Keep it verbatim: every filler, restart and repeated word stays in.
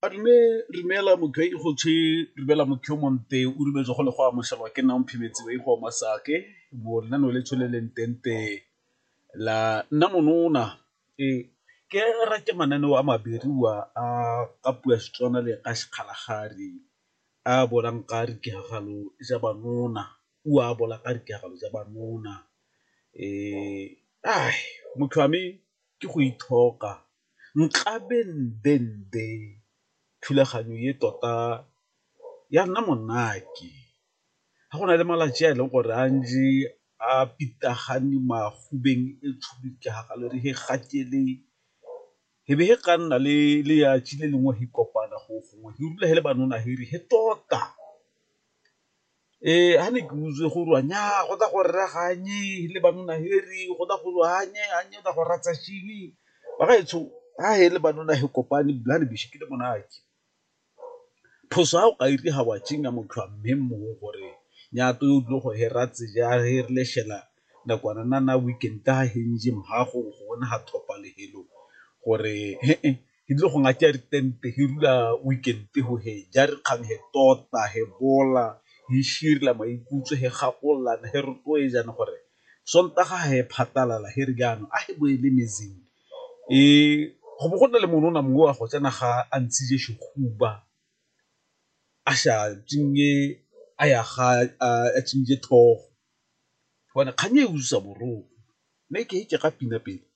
Madume, dumela motho e go tshwe dumela motho yo monte o dumetse go le go amogelwa ke nna Omphemetse wa go Masake mo lenaneo le tsweleleng tente la nna monona. Ee, ke rate mananeo a a ka puo ya Setswana le ka Sekgalagadi a bolang ka ditiragalo tsa ba , o a bola ka ditiragalo tsa ba motho wa me ke go ithoka nkabe thulaganyo e tota ya nna monate, ga go na le malatsi a e leng gore a a pitagane e be ka nna le le lengwe he kopana go gongwe he le ba tota. Ee, ga ne ke utlwa gore nnyaa go tla go le go tla go bagaetsho ga he le he kopane ke le monate. Phoso ya o ka ira wa motho wa mme mongwe gore o tlile go hera nakwana weekend go ga thopa lefelo gore ke tlile go ditente he dula weekend go he ja dikgang he tota he bola he maikutlo he gakololana he rotloetsana gore Sontaga he phatlalala he re jaanong a he boele metsing. Ee, go bo go na le monona mongwe wa go tsena ga a ntshitse a sa a ya ga a tlhogo gobane kgang e utlwisa botlhoko mme ke ke ga pina pele.